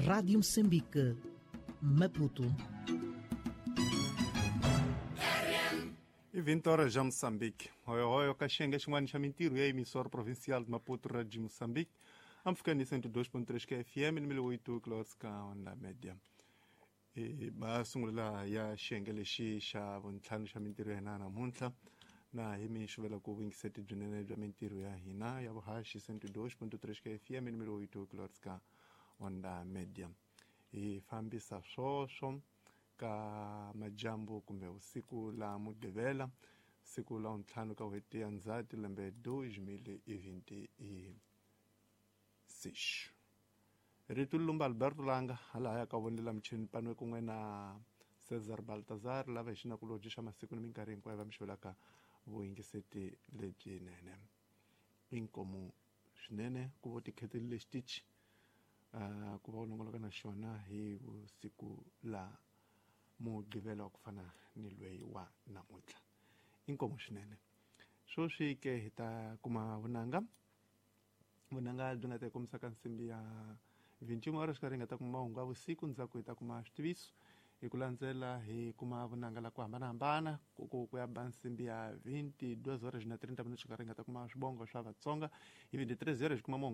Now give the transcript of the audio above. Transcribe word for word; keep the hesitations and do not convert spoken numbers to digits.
Rádio Moçambique, Maputo. I vinte horas já Moçambique. Hoyo hoyo ka xiyenge xin'wana xa mintirho ya emissora provincial de Maputo, Rádio Moçambique. Amfikani cento e dois ponto três K F M, mil e oito kHz ka onda média. E masungulo ya xiyenge lexi xa vuntlhanu xa mintirho ya hina namuntlha na hi mi xuvela ku vuyingiseti byinene bya mintirho ya hina ya vuhaxi cento e dois ponto três K F M, mil e oito kHz ka onda média. Hi fambisa swoswo ka majambu kumbe usiku la Mugqivela, siku la ntlhanu ka n'hweti ya Ndzhati lembe dois mil e vinte e seis. Rito Lumba Alberto Langa hala ya ka vonela michini panwe kun'we na Cesar Baltazar lava hi xinakulobye xa masiku ni minkarhi hinkwayo va mi xavelaka vuyingiseti lebyinene. Inkomu swinene ku vo tikheteli xitichi uh, ku va u longoloka na xona hi vusiku la Mugqivela wa ku fana ni lweyi wa namuntlha. Inkomu swinene. Sweswi ke hi ta kuma vunanga vunanga byi nga ta hi kombisa ka nsimbi ya vinte e uma horas xikarhi hi nga ta kuma mahungu ya vusiku, ndzhaku hi ta kuma switiviso hi ku landzela hi kuma vunanga la ku hambanahambana ku ku ku ya ba nsimbi ya vinte e duas horas na trinta minutos xikarhi hi nga ta kuma swibongo swa Vatsonga hi vinte e três horas hi kuma mahungu